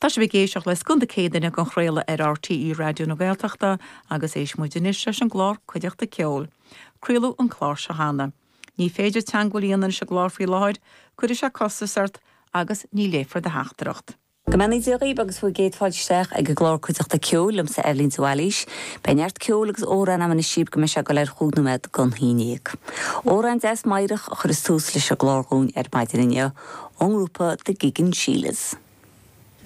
Tá sibh ag éisteacht le Scuan na Céadaoine á chraoladh ar RTÉ Raidió na Gaeltachta agus éistfidh muid anois leis an gclár Cuideachta Ceoil. Craoladh an clár seo cheana. Ní féidir teagmháil a dhéanamh leis an gclár faoi láthair, cuirfidh sé costas ort agus ní léifear do theachtaireacht. Go mbeannaí Dia dhaoibh agus bhur gcéad fáilte isteach ag an gclár Cuideachta Ceoil liomsa Eibhlín de Bhailís. Beidh neart ceoil agus amhráin agam anois daoibh go mbeidh sé ag dul ar chúig nóiméad don haon dhéag. Amhrán deas meidhreach a chuireas tús leis an gclár dhúinn ar maidin inniu ón ngrúpa The Giggin Sheilas.